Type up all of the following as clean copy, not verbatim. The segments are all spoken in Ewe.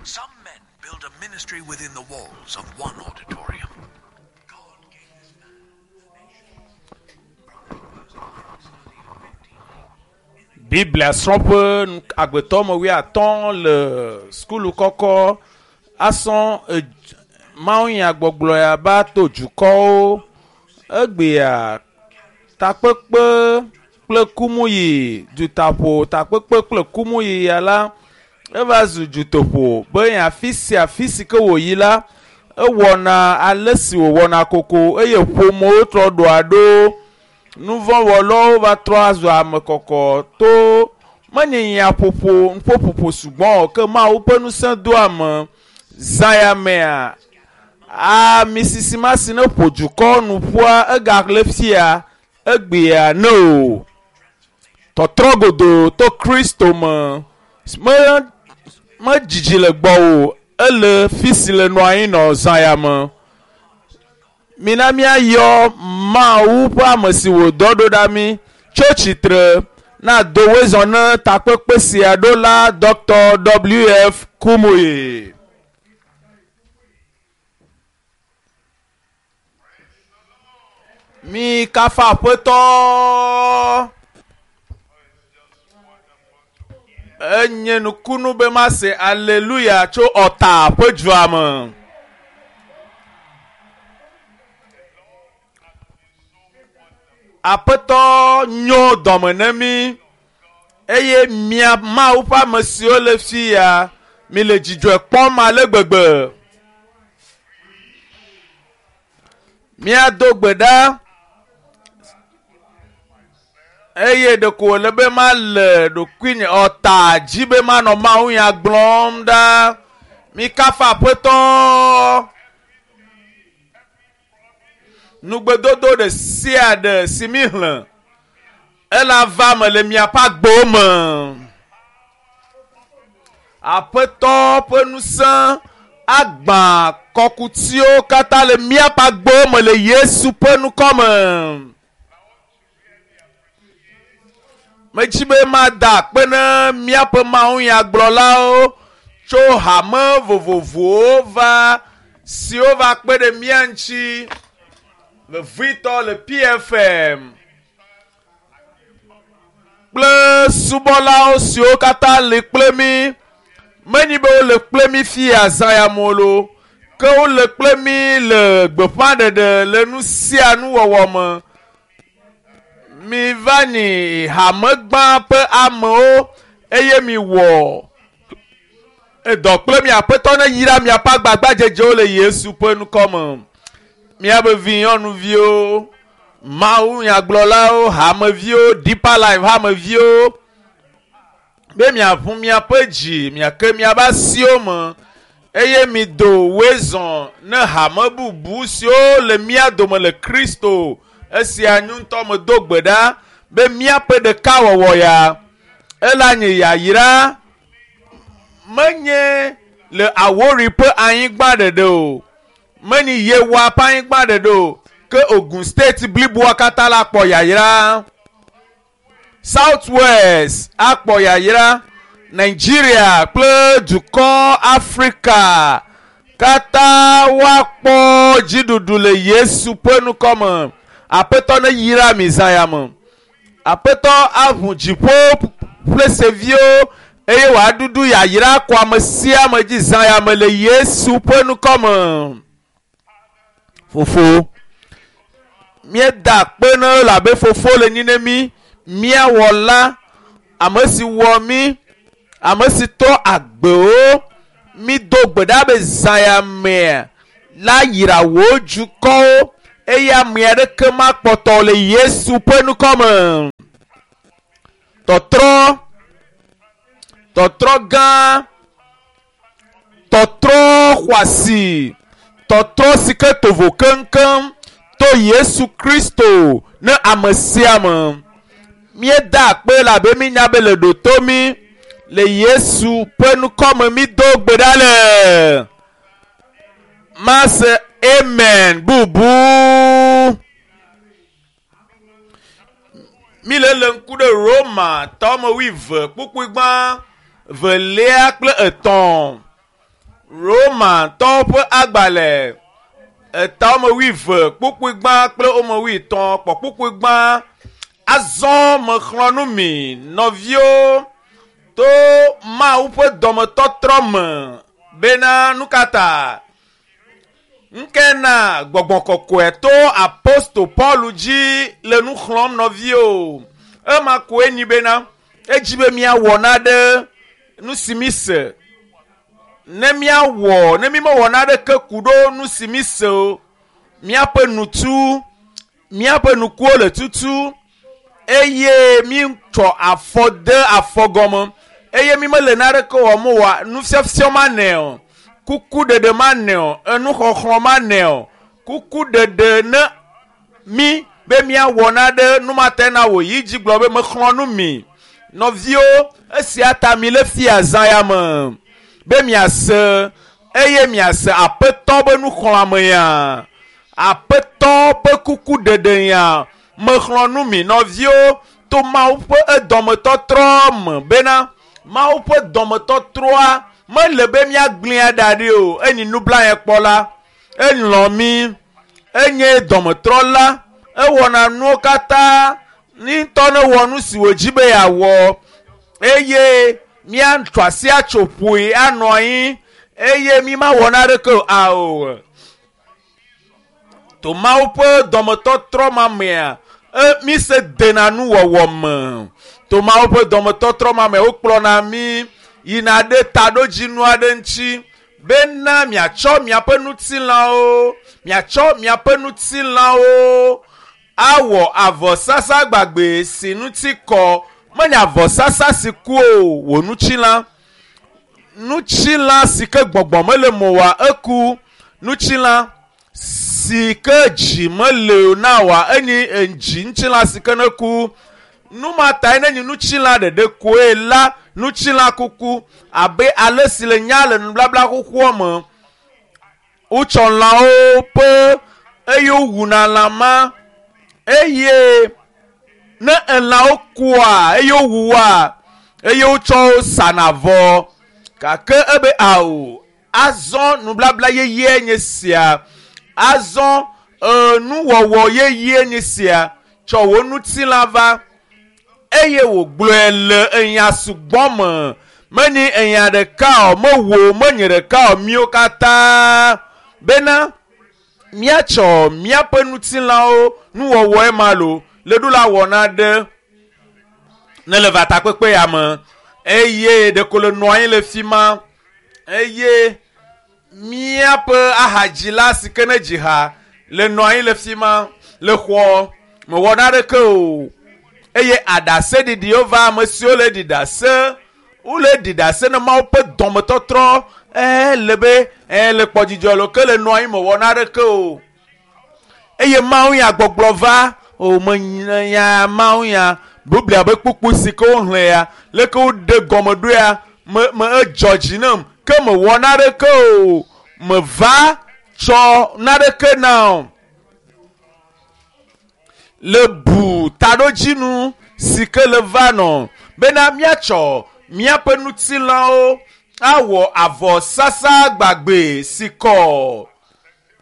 Some men build a ministry within the walls of one auditorium. God gave this man a nation. Biblia srɔ̃ƒe agbetɔ me wuiatɔ̃ le sukulu kɔkɔ asɔ mawunyagbɔgblɔ ya ba to dukɔwo egbea takpekpe kple kumuyi dutaƒo takpekpe kple kumuyi ya la eva zu dutoƒo be afi sia afi si ke wòyi la ewɔna ale si wòwɔna koko eye ƒomewo trɔ ɖoa ɖo nuvɔ̃wɔlawo va trɔ azu ame kɔkɔ to menye nyaƒoƒo nuƒoƒoƒo sugbɔ o ke Mawu ƒe ŋusẽ do ame zã ya mea ami sisi ma si ne ƒo dukɔ nu ƒua egale fia egbea ne o tɔtrɔ godoo to Kristo me me medzidzi le gbɔwò ele fi si le nɔ anyi nɔ zã ya me mina míayɔ Mawu ƒe ame si wòdɔ ɖo ɖa mí tso tsitre na do wezɔ ne takpekpe sia ɖo la Dr. W.F. Kumuyi. Mi kafa aƒetɔ. Enye nukunu be mase aleluya tso ɔta ƒe dua me. Aƒetɔ nyo dɔme ne mí eye mia Mawu ƒe ame siwo le fi ya mi le dzidzɔe kpɔm ale gbegbe. Míado gbe ɖa eye ɖeko wòle be male ɖokuinye ɔta dzi be manɔ Mawu nya gblɔm ɖa. Mi kafa aƒetɔ. Nugbedodo ɖe sia ɖe si mi xlẽ ela va me le miaƒe agbewo me. Aƒetɔ ƒe ŋusẽ agbã kɔkutiwo katã le míaƒe agbewo me le Yesu ƒe ŋkɔ me. Medzi be mada akpe ne míaƒe mawunyagblɔlawo tso hame vovovowo va siwo va kpe ɖe mía ŋuti vevitɔ le PFM kple subɔlawo siwo katã li kple mí menyi be wole kple mí fia zã ya me o ke wole kple mí le gbeƒãɖeɖe le nu sia nu wɔwɔ me. Mi va nyi hamegbã ƒe amewo eye mi wɔ edɔ kple mi aƒetɔ ne yra miaƒe agbagbadzedzewo le Yesu ƒe ŋkɔ me. Miaƒe vi nyɔnuviwo, Mawu nyagblɔlawo, hameviwo, Deeper Life hameviwo be miaʋu miaƒe dzi, miake miaƒe asiwo me eye mido wezɔ ne hame bubu siwo le mía dome le Kristo. Esia ŋutɔ medo gbe ɖa be míaƒe ɖekawɔwɔ ya ela nye yayra menye le Awori ƒe anyigba ɖeɖe o, menye Yewa ƒe anyigba ɖeɖe o, ke Ogun State bliboa katã la kpɔ yayra. South West akpɔ yayra, Nigeria kple dukɔ Afrika katã woakpɔ dziɖuɖu le Yesu ƒe ŋkɔ me. Aƒetɔ ne yra mi zã ya me. Aƒetɔ aʋu dziƒo ƒle seviwo eye wòaɖuɖu yayra kɔ ame sia ame dzi zã ya me le Yesu ƒe ŋkɔ me. Fofo, míeda akpe ne elabe fofo le nyi ne mí, mía wɔla, ame si wɔ mí, ame si trɔ agbewo, mído gbe ɖa be zã ya mea la yra wò dukɔwo eye ame aɖeke makpɔtɔ le Yesu ƒe ŋkɔ me. Tɔtrɔ, tɔtrɔ gã, tɔtrɔ xɔasi, tɔtrɔ si ke tovo keŋkeŋ to Yesu Kristo ne ame sia ame. Míeda akpe elabe mínya be le ɖoto mí le Yesu ƒe ŋkɔ me mído gbe ɖa le. Mase amen bubu. Mi le le ŋku ɖe Roma tɔme wuieve kpukpui gbã velia kple etɔ̃. Romatɔwo ƒe agbalẽ eta wɔme wuieve kpukpui gbã kple wɔme wuietɔ̃ kpɔ kpukpui gbã. Azɔ mexlɔ̃ nu mi nɔviwo to Mawu ƒe dɔmetɔtrɔ me bena nu ka ta ŋke na gbɔgbɔ kɔkɔe to apostol Paul dzi le nu xlɔ̃m nɔviwo. Ema koe nyi bena edzi be míawɔ naɖe nu si mi se. Ne míawɔ ne mi mewɔ naɖeke ku ɖo nu si mi se o, míaƒe nutu, míaƒe nukuwo le tutu eye mi tsɔ afɔ de afɔ gɔme eye mi mele naɖeke wɔm oa, nufiafia ma nɛ o, kukuɖeɖe ma nɛ o, enuxɔxlɔ̃ ma nɛ o, kukuɖeɖe ne mi be míawɔ naɖe numate na wò yi dzi gblɔ be mexlɔ̃ nu mi. Nɔviwo, esia ta mi le fia zã ya me be miase eye miase aƒetɔ be nuxlɔ̃ame ya, aƒetɔ ƒe kukuɖeɖe ya. Mexlɔ̃ nu mi nɔviwo to Mawu ƒe edɔmetɔtrɔ me bena Mawu ƒe dɔmetɔtrɔa mele be míagblẽa ɖa ɖi o. Enyi nublanyaekpɔla, elɔ̃ mi, enye dɔmetrɔla, ewɔna nuwo katã ŋutɔ ne wɔ nu si wòdzi be yeawɔ eye míatso asi atso ƒoe anɔ anyi eye mi mawɔ naɖeke o. Ao. To Mawu ƒe dɔmetɔtrɔ ma mea, mi se dena nuwɔwɔ me. To Mawu ƒe dɔmetɔtrɔ ma me wokplɔna mi yina ɖe taɖodzinu aɖe ŋuti bena miatsɔ miaƒe ŋutilãwo, miatsɔ miaƒe ŋutilãwo awɔ avɔsasa gbagbe si ŋuti kɔ. Menye avɔsasa si ku o, wò ŋutilã. Ŋutilã si ke gbɔgbɔ mele me oa, eku. Ŋutilã si ke dzi mele o na wòa, enyi dzi ŋutilã si ke ne ku. Nu ma tae ne nyi ŋutilã ɖeɖe koe la, ŋutilã kuku abe ale si le nya le nubabla xoxoa me. Wotsɔ lãwo ƒe eye wowuna lã ma eye ne elãwo kua eye wowua eye wotsɔ wo sana vɔ. Gake ebe ao, azɔ nubabla yeye nye sia. Azɔ nuwɔwɔ yeye nye sia. Tsɔ wò ŋutilã va eye wògblɔe le enya sugbɔ me. Menye enya ɖeka o, mewò, menye ɖeka o, míwo katã bena míatsɔ míaƒe ŋutilãwo nuwɔwɔe ma lo le ɖo la wɔ naɖe ne le va takpekpe ya me eye ɖeko le nɔ anyi le fi ma eye míaƒe ahadzila si ke ne dzi ha le nɔ anyi le fi ma le xɔ mewɔ naɖeke o eye aɖaseɖiɖiwo va ame siwo le ɖi ɖase wole ɖi ɖase ne Mawu ƒe dɔmetɔtrɔ le be le kpɔdzidzɔ lo ke le nɔ anyi mewɔ naɖeke o eye Mawu ya gbɔgblɔ va o menya Mawu ya Biblia be kpukpu si ke woxlẽ ya leke woɖe gɔme ɖo ya me me edzɔ dzi nam ke mewɔ naɖeke o meva tsɔ naɖeke na o le bu taɖodzinu si ke le va nɔ bena míatsɔ míaƒe ŋutilãwo awɔ avɔsasa gbagbe si kɔ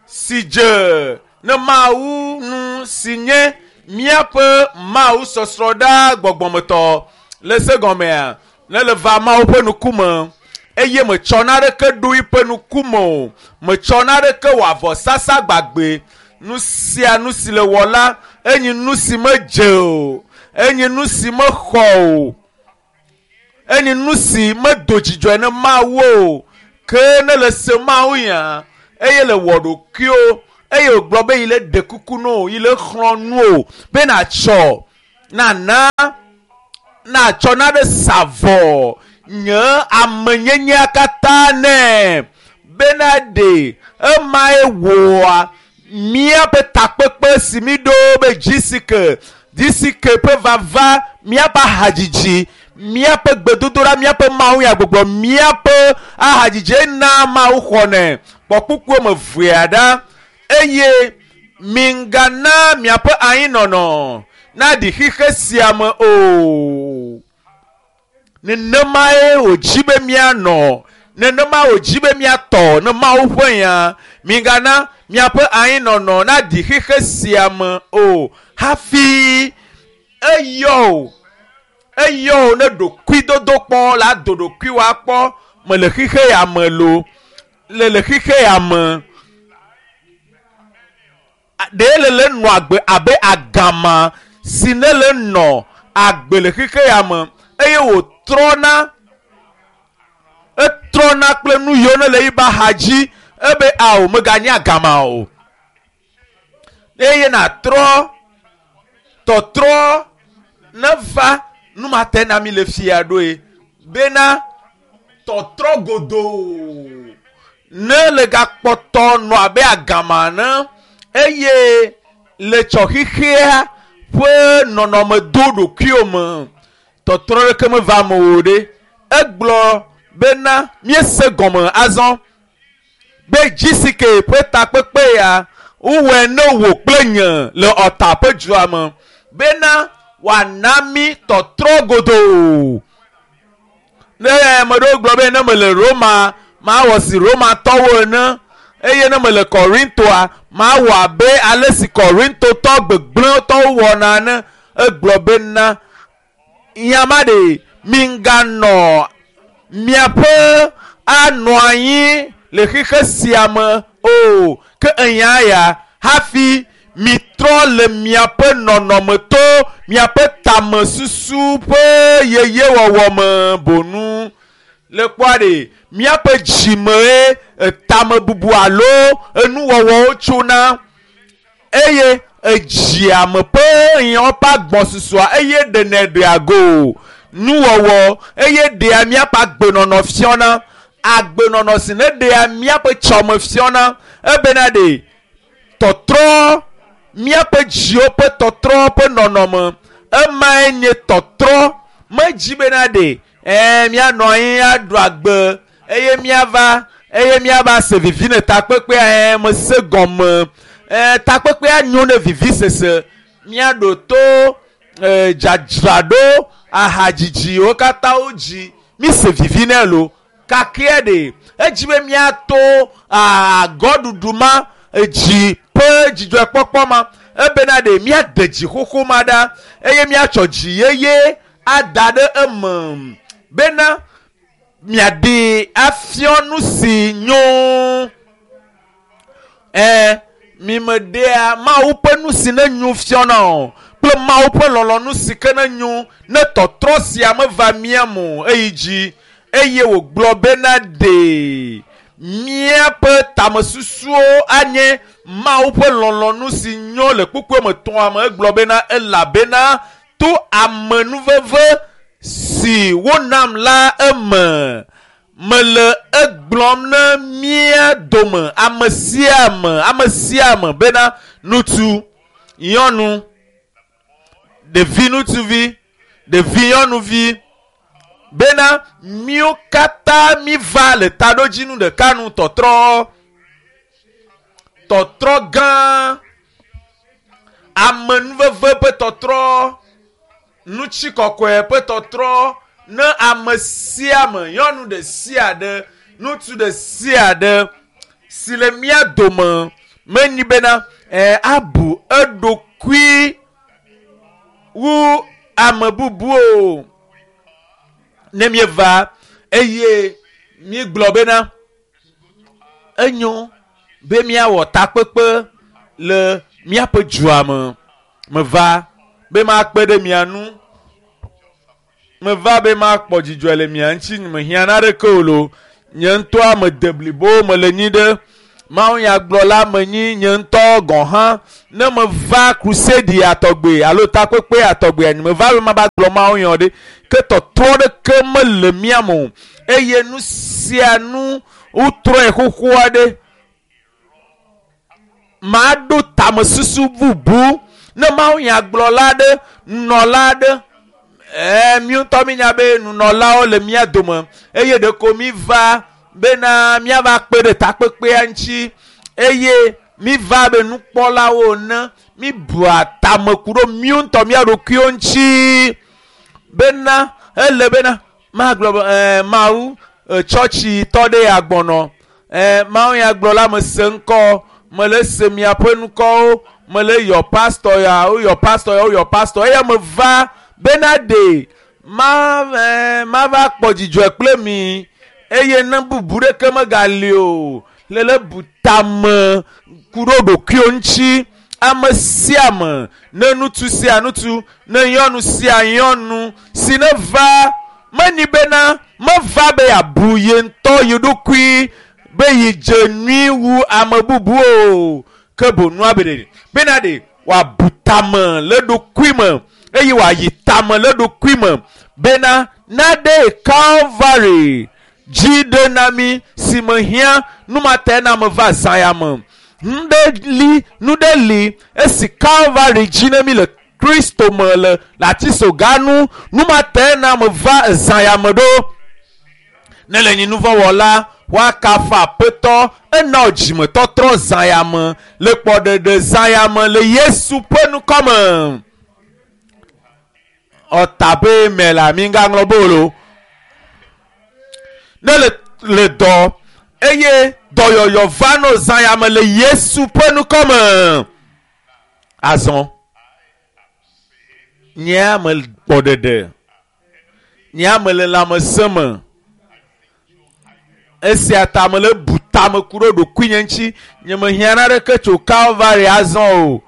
si dze ne Mawu nu si nye míaƒe Mawu sɔsrɔ̃ ɖa gbɔgbɔmetɔ le se gɔmea ne le va Mawu ƒe ŋkume eye metsɔ naɖeke ɖo eƒe ŋkume o, metsɔ naɖeke wɔ avɔsasa gbagbe. Nu sia nu si le wɔ la enyi nu si medze o, enyi nu si mexɔ o, enyi nu si medo dzidzɔe ne Mawu o. Ke ne le se Mawu ya eye le wɔ ɖokuiwo eye wògblɔ be yi le ɖe kuku na wò, yi le xlɔ̃ nu wò be nàtsɔ nana nàtsɔ naɖe sa vɔ nye amenyenyea katã nɛ bena ɖe emae wɔa míaƒe takpekpe si mi ɖo be GCK GCK ƒe vava, míaƒe ahadzidzi, míaƒe gbedodoɖa, míaƒe Mawu ya gbɔgblɔ, míaƒe ahadzidzi na Mawu xɔnɛ. Kpɔ kpukpuo me vea ɖa eye migana miaƒe anyinɔnɔ naɖi xixe sia me o. Nenemae wòdzi be míanɔ. Nenema wòdzi be míatɔ ne Mawu ƒe nya. Migana miaƒe anyinɔnɔ naɖi xexe sia me o hafi eyɔ o. Eyɔ o ne ɖokuidodo kpɔ la do ɖokuiwò akpɔ mele xexe ya me lo. Le le xexe ya me. Ɖe le le nɔ agbe abe agama si ne le nɔ agbe le xexe ya me eye wòtrɔna etrɔna kple nu yiwo ne le yiba xa dzi ebe ao meganye agama o. Eye nàtrɔ tɔtrɔ neva numate na mi le fia ɖoe bena tɔtrɔ godoo ne le gakpɔtɔ nɔ abe agama ene eye le tsɔ xexea ƒe nɔnɔme do ɖokuiwò me tɔtrɔ ɖeke meva eme o ɖe. Egblɔ bena míese gɔme azɔ be GCK ƒe takpekpe ya wowɔe ne wò kple nye le ɔta ƒe dua me bena wòana mí tɔtrɔ godoo. Ne ame ɖewo gblɔ be ne mele Roma mawɔ si Romatɔwo ene eye ne mele Korintoa mawɔ abe ale si Korintotɔ gbegblẽtɔwo wɔna ene. Egblɔ bena nya ma ɖe miganɔ miaƒe anɔ anyi le xexe sia me o ke enya ya hafi mitrɔ le miaƒe nɔnɔme to miaƒe tamesusu ƒe yeyewɔwɔ me bonu. Le kpɔa ɖe miaƒe dzimee tamebubu alo enuwɔwɔwo tsona eye edziame ƒe nyawo ƒe agbɔsusua eye ɖenɛ ɖea go nuwɔwɔ eye ɖea míaƒe agbenɔnɔ fiɔna agbenɔnɔ si ne ɖea míaƒe tsɔme fiɔna ebena ɖe tɔtrɔ míaƒe dziwo ƒe tɔtrɔ ƒe nɔnɔme emae nye tɔtrɔ medzi bena ɖe ɛɛ míanɔ anyi aɖu agbe eye míava eye míava se vivi ne takpekpea ɛɛ mese gɔme ɛɛ takpekpea nyo ne vivisese míaɖo to ɛɛ dzadzraɖo ahadzidziwo katã wo dzi míse vivi nɛ lo kakea ɖe edzi be míato agɔɖuɖu ma edzi ƒe dzidzɔkpɔkpɔ ma ebena ɖe míade dzi xoxo ma ɖa eye míatsɔ dzi yeye ada ɖe eme bena miaɖee afiɔ nu si nyo. Ɛɛ mimeɖea Mawu ƒe nu si ne nyo fiɔna o kple Mawu ƒe lɔlɔ̃nu si ke ne nyo ne tɔtrɔ sia meva mía me o eyi dzi eye wògblɔ bena ɖe míaƒe tamesusuwo anye Mawu ƒe lɔlɔ̃nu si nyo le kpukpui me tɔa me egblɔ bena elabena to amenuveve si wonam la eme mele egblɔm ne mía dome ame sia ame ame sia ame bena ŋutsu, nyɔnu, ɖevi ŋutsuvi, ɖevi nyɔnuvi bena míwo katã míva le taɖodzinu ɖeka nu tɔtrɔ tɔtrɔ gã amenuveve ƒe tɔtrɔ nutsikɔkɔe ƒe tɔtrɔ ne ame sia ame nyɔnu ɖe sia ɖe ŋutsu ɖe sia ɖe si le mía dome menyi bena ɛɛ abu eɖokui wu ame bubu o ne míeva eye míegblɔ bena enyo be míawɔ takpekpe le míaƒe dua me meva be makpe ɖe mia ŋu meva be makpɔ dzidzɔ le mia ŋuti mehiã naneke o lo nye ŋutɔa mede blibo mele nyi ɖe mawunyagblɔla menyi nye ŋutɔ gɔ̃ hã ne meva crusade atɔgbe alo takpekpe atɔgbe nye meva be mava gblɔ mawunya ɖe ke tɔtrɔ ɖeke mele mía me o eye nu sia nu wotrɔe xoxo aɖe maɖo tamesusu bubu ne mawunyagblɔla aɖe nunɔla aɖe ɛɛ mi ŋutɔ minya be nunɔlawo le mía dome eye ɖeko mi va bena míava kpe ɖe takpekpea ŋuti eye mi va be nukpɔlawo ene mi bua tameku ɖo míwo ŋutɔ mía ɖokuiwo ŋuti bena ele bena magblɔ be ɛɛ Mawu Tsɔtsi tɔ ɖe ya gbɔnɔ. Ɛ Mawu ya gblɔ la me se ŋkɔ, mele se miaƒe ŋkɔwo, mele yɔ pastor ya, woyɔ pastor ya, woyɔ pastor eya me va bena ɖe ma ɛ mava kpɔ dzidzɔe kple mi eye ne bubu ɖeke megali o. Lele bu tame ku ɖo ɖokuiwo ŋuti. Ame sia ame, ne ŋutsu sia ŋutsu, ne nyɔnu sia nyɔnu si ne va menyi bena meva be yeabu ye ŋutɔ ye ɖokui be yi dze nyui wu ame bubu o ke bonua be ɖe bena ɖe wòabu tame le ɖokui me eye wòayi tame le ɖokui me bena naɖe Calvary dzi ɖe na mi si mehiã numatae na me va zã ya me. Nu ɖe li nu ɖe li esi Calvary dzi ne mi le Kristo me le le atisoga nu numatae na me va zã ya me ɖo. Ne le nyi nuvɔ̃wɔla woakafu aƒetɔ ena dzimetɔtrɔ zã ya me le kpɔɖeɖe zã ya me le Yesu ƒe ŋkɔme. Ɔtabe me la mi ŋgaŋlɔ be o. Ne le le dɔ eye dɔyɔyɔ va no zã ya me le Yesu ƒe ŋkɔme. Azɔ nye ame kpɔɖeɖe, nye ame le lãmesẽ me. Esia ta mele bu tame ku ɖe ɖokuinye ŋuti. Nye mehiã naneke tso Calvary azɔ o.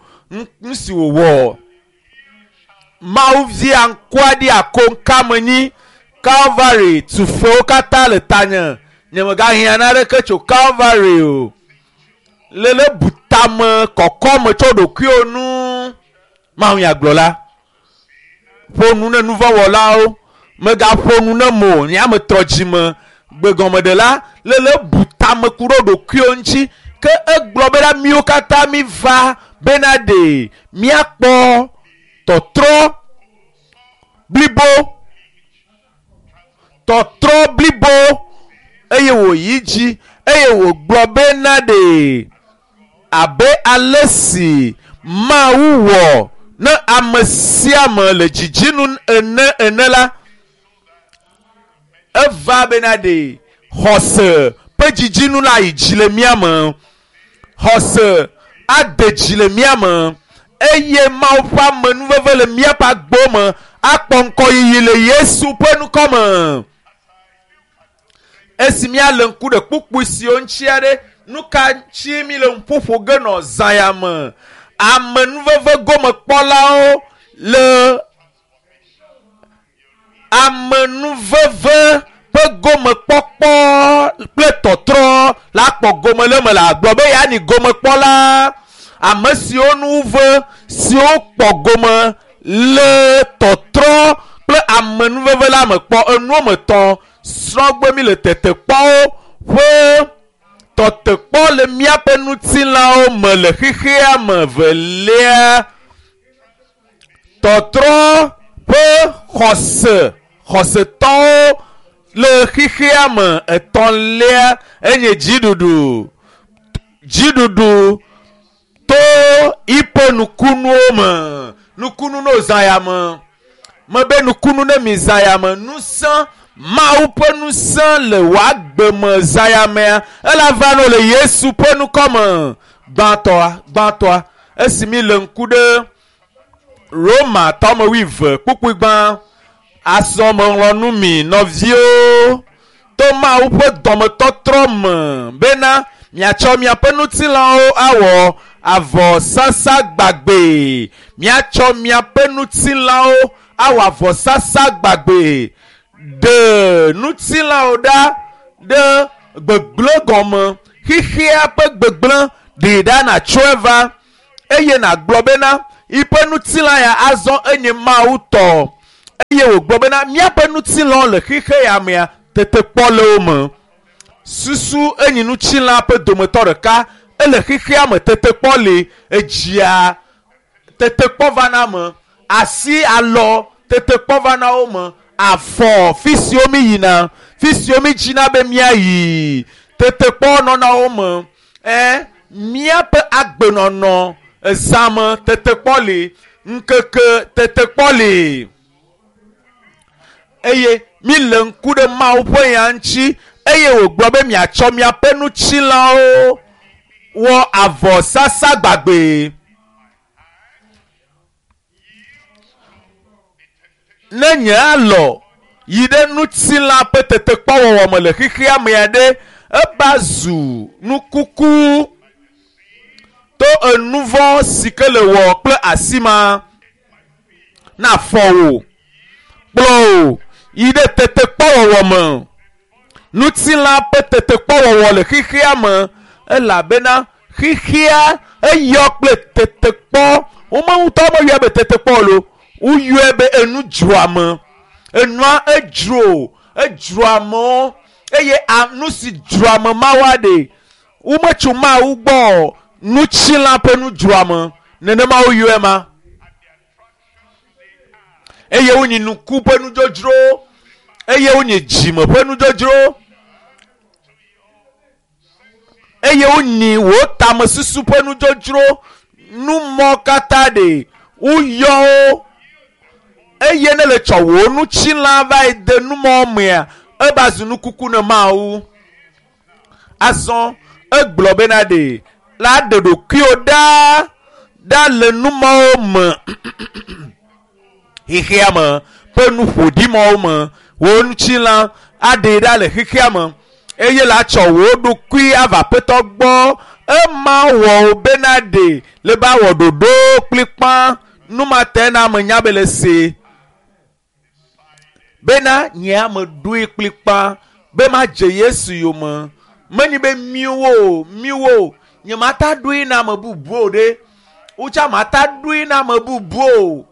Nu si wòwɔ. Mawu via ŋkua ɖi akoŋka menyi. Calvary tufewo katã le tanye. Nye megahiã naneke tso Calvary o. Lele bu tame kɔkɔ me tso ɖokuiwo nu. Mawu ya gblɔ la. Ƒo nu ne nuvɔ̃wɔlawo. Megaƒo nu ne mo. Nye ame trɔ dzime. Gbegɔmeɖela lele bu tame ku ɖe ɖokuiwo ŋuti ke egblɔ bena miwo katã mi va bena ɖe miakpɔ tɔtrɔ blibo tɔtrɔ blibo eye wòyi dzi eye wògblɔ bena ɖe abe ale si Mawu wɔ ne ame sia ame le dzidzinu ene ene la eva bena ɖe xɔse ƒe dzidzinu la yi dzi le mía me. Xɔse ade dzi le mía me eye Mawu ƒe amenuveve le míaƒe agbo me akpɔ ŋkɔyiyi le Yesu ƒe ŋkɔ me. Esi míalé ŋku ɖe kpukpui siwo ŋuti aɖe, nu ka ŋuti mi le ŋuƒoƒo ge nɔ zã ya me? Amenuveve gomekpɔlawo le amenuveve ƒe gomekpɔkpɔ kple tɔtrɔ la kpɔ gome le eme le agblɔ be yeanyi gomekpɔla. Ame siwo nu ve siwo kpɔ gome le tɔtrɔ kple amenuveve la me kpɔ enuwo me tɔ srɔ̃gbe mi le tetekpɔwo ƒe tɔtekpɔ le míaƒe ŋutilãwo me le xexea me velia. Tɔtrɔ ƒe xɔse xɔsetɔwo le xexea me etɔ̃lia enye dziɖuɖu dziɖuɖu to yiƒe nukunuwo me nukunu no zã ya me mebe nukunu ne mi zã ya me ŋusẽ Mawu ƒe ŋusẽ le wò agbe me zã ya mea ela va no le Yesu ƒe ŋkɔ me gbãtɔa gbãtɔa esi mi le ŋku ɖe Roma tɔme wuieve kpukpui gbã azɔ meŋlɔ nu mi nɔviwo to Mawu ƒe dɔmetɔtrɔ me bena miatsɔ miaƒe ŋutilãwo awɔ avɔsasa gbagbe miatsɔ miaƒe ŋutilãwo awɔ avɔsasa gbagbe ɖe ŋutilãwo ɖa ɖe gbegblẽ gɔme xexea ƒe gbegblẽ ɖee ɖa natsɔe va eye nàgblɔ bena yiƒe ŋutilã ya azɔ enye Mawu tɔ eye wògblɔ bena míaƒe ŋutilãwo le xexe ya mea tetekpɔ le wo me. Susu enyi ŋutilã ƒe dometɔ ɖeka ele xexea me tetekpɔ li edzia tetekpɔ va na me asi alɔ tetekpɔ va na wo me afɔ fi siwo mi yina fi siwo mi dzina be míayi tetekpɔ nɔna wo me ɛ míaƒe agbenɔnɔ ezã me tetekpɔ li ŋkeke tetekpɔ li eye mi le ŋku ɖe Mawu ƒe nya ŋuti. Eye wògblɔ be miatsɔ miaƒe ŋutilãwo wɔ avɔsasa gbagbe. Ne nye alɔ yi ɖe ŋutilã ƒe tetekpɔwɔwɔ me le xexea mea ɖe, eba zu nukuku to enuvɔ si ke le wɔ kple asi ma na fɔ wò kplɔ wò yi ɖe tetekpɔwɔwɔ me. Ŋutilã ƒe tetekpɔwɔwɔ le xexea me elabena xexea eyɔ kple tetekpɔ. Wome ŋutɔ meyɔe be tetekpɔ o, woyɔe be enudzroame. Enua edzro, edzro amewo eye nu si dzro ame mawoa ɖe, wometso Mawu gbɔ o. Ŋutilã ƒe nudzroame, nenema woyɔe ma. Eye wonyi nuku ƒe nudzodzro, eye wonyi dzime ƒe nudzodzro, eye wonyi wò tamesusu ƒe nudzodzro. Numɔ katã ɖe woyɔ wo eye ne le tsɔ wò ŋutilã va yi de numɔ mea, eva zu nukuku ne Mawu. Azɔ egblɔ bena ɖe la ɖe ɖokuiwò ɖa ɖa le numɔwo me xexea me ƒe nuƒoɖimɔwo me. Wò ŋutilã aɖee ɖa le xexea me eye la tsɔ wò ɖokui ava Aƒetɔ gbɔ. Ema wɔ wò bena ɖe le ba wɔ ɖoɖo kplikpa. Numate na ame nya be le se bena nye ame ɖoe kplikpa be madze Yesu yome. Menyi be miwo miwo nye mata ɖoe na ame bubuwo ɖe. Wotsa mata ɖoe na ame bubuwo.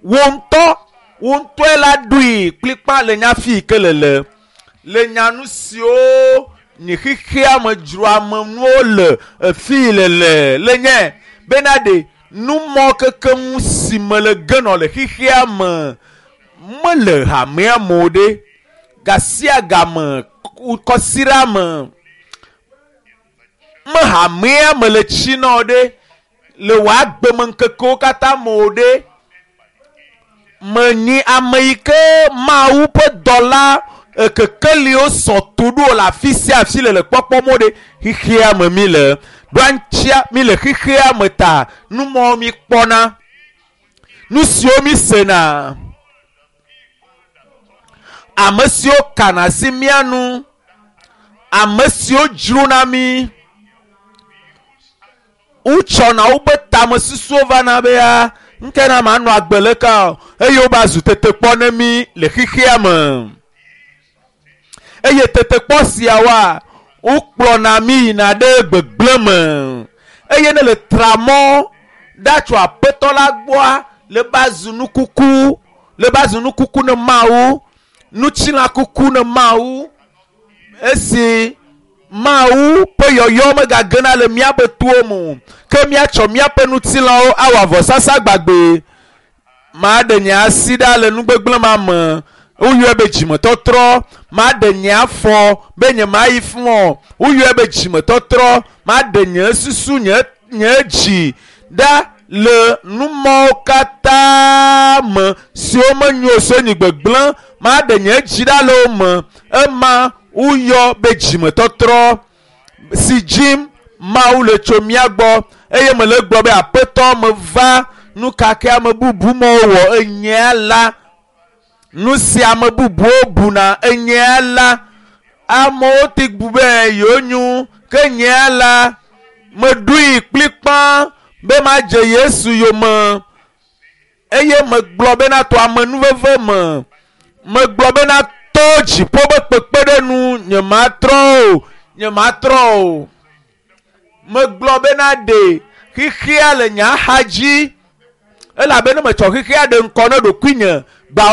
Wò ŋutɔ, wò ŋutɔe la ɖoe kplikpa le nya fi yi ke le le. Le nya nu siwo nye xexea me dzroamenuwo le efi le le le nye bena ɖe numɔ kekeŋ si me le genɔ le xexea me mele hamea me o ɖe. Gasia game, kɔsiɖa me, me hamea me le tsi na o ɖe, le wò agbemeŋkekewo katã me o ɖe. Menyi ame yi ke Mawu ƒe dɔla ekekeliwo sɔ tu ɖo le afi sia afi le le kpɔkpɔm o ɖe. Xexea me mi le. Ɖoa ŋutia mi le xexea me ta numɔwo mi kpɔna, nu siwo mi sena, ame siwo kana asi mía nu, ame siwo dzrona mi, wotsɔna woƒe tamesusuwo vana be ya ŋke na manɔ agbe leka o eye wova zu tetekpɔ ne mi le xexea me. Eye tetekpɔ siawoa, wokplɔna mi yina ɖe gbegblẽ me. Eye ne le tra mɔ ɖa tso Aƒetɔ la gbɔa, le ba zu nukuku, le ba zu nukuku ne Mawu, ŋutilã kuku ne Mawu. Esi Mawu ƒe yɔyɔ megagena le míaƒe towo me o, ke míatsɔ míaƒe ŋutilãwo awɔ avɔsasa gbagbe. Maɖe nye asi ɖa le nugbegblẽ ma me. Woyɔe be dzimetɔtrɔ. Maɖe nye afɔ be nye mayi fũ o. Woyɔe be dzimetɔtrɔ. Maɖe nye susu, nye nye dzi ɖa le numɔwo katã me siwo menyo o, siwo nyi gbegblẽ. Maɖe nye dzi ɖa le wo me. Ema woyɔ be dzimetɔtrɔ si dzim Mawu le tso mía gbɔ eye mele gblɔ be Aƒetɔ meva nu ka ke ame bubu mɔwo wɔ enyea la. Nu si ame bubuwo buna enyea la, amewo te bu be yewo nyo ke nyea la, meɖoe kplikpa be madze Yesu yome eye megblɔ bena to amenuveve me, megblɔ bena to dziƒo be kpekpeɖeŋu nyematrɔ o, nyematrɔ o. Megblɔ bena ɖe xexea le nye axa dzi elabena metsɔ xexea ɖe ŋkɔ ne ɖokuinye.